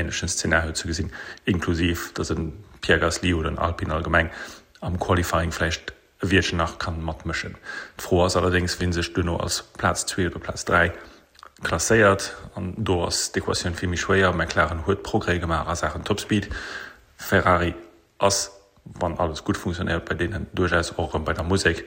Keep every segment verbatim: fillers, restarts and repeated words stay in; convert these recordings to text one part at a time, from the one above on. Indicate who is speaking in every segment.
Speaker 1: änlechen Szenario ze gesinn, inklusiv datt e Pierre Gasly oder en Alpine allgemeng am Qualifying vläicht e Wiertchen nach kann matmëschen. D'Fro ass allerdéngs, wien sech duerno als Plaz zwee oder Plaz dräi klasséiert, an do ass d'Equatioun vill méi schwéier. McLaren huet Progrès gemaach a Saachen Topspeed, Ferrari ass, wann alles gutt funktionéiert bei deenen, duerchaus och erëm bei der Musek.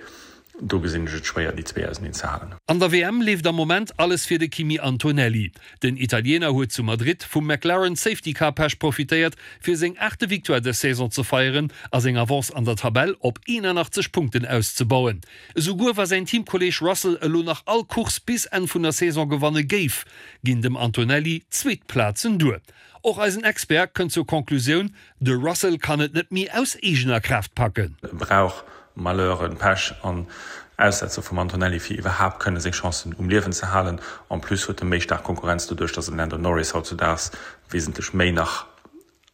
Speaker 1: Do gesinn ech et schwéier, déi zwee auseneen ze halen.
Speaker 2: An der W M leeft am Moment alles fir de Kimi Antonelli. Den Italiener huet zu Madrid vum McLaren Safety Car Pech profitéiert, fir seng aachte Victoire dës Saison ze feieren a seng Avance an der Tabell op eenanachtzeg Punkten auszebauen. Esouguer wa säin Teamkolleeg Russell elo nach all Course bis Enn vun der Saison gewanne géif, ginn dem Antonelli zweet Plazen duer. Och eisen Expert kënnt zur Konklusioun, De Russell kann et net méi aus eegener Kraaft packen.
Speaker 1: E brauch Malheuren, Pech an Aussetzer vum Antonelli fir iwwerhaapt kënne seng Chancen um Liewen ze halen. En plus huet e méi staark Konkurrenz doduerch, datt de Lando Norris hautzudaags wesentlech méi nach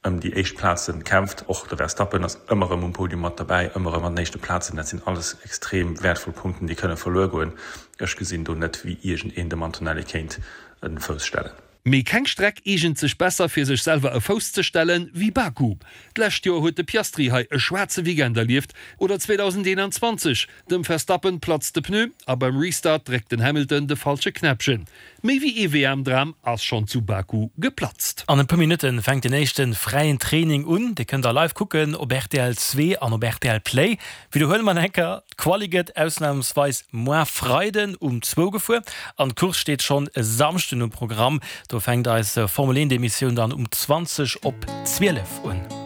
Speaker 1: ëm déi éischt Plaze kämpft. Och de Verstappen ass ëmmer erëm um Podium mat derbäi, ëmmer erëm an den éischte Plazen. Dat sinn alles extrem wäertvoll Punkten, déi kënne verluer goen. Ech gesinn do net, wéi iergendeen dem Antonelli kéint e Fouss stellen.
Speaker 2: Mee keng Streck eegent sech besser fir sech selwer e Fouss ze stellen, wéi Baku. D'lescht Joer huet de Piastri hei e schwaarze Weekend erlieft, oder zweedausendeenanzwanzeg, dem Verstappen platzt de Pneu a beim Restart dréckt den Hamilton de falsche Knäppchen. Méi wéi ee W M-Dram ass schonn zu Baku geplatzt.
Speaker 3: An e puer Minutte fänkt den éischte fräien Training un. Dir kënnt da live kucken op R T L zwee an op R T L Play. Widderhuele mer eng Kéier, D'Quali gëtt ausnamsweis muer Freiden um zwou gefuer an d'Course steet schonn e Samschden um Programm. Do fänkt eis Formel eent Emissioun dann um zwanzeg op zwielef un.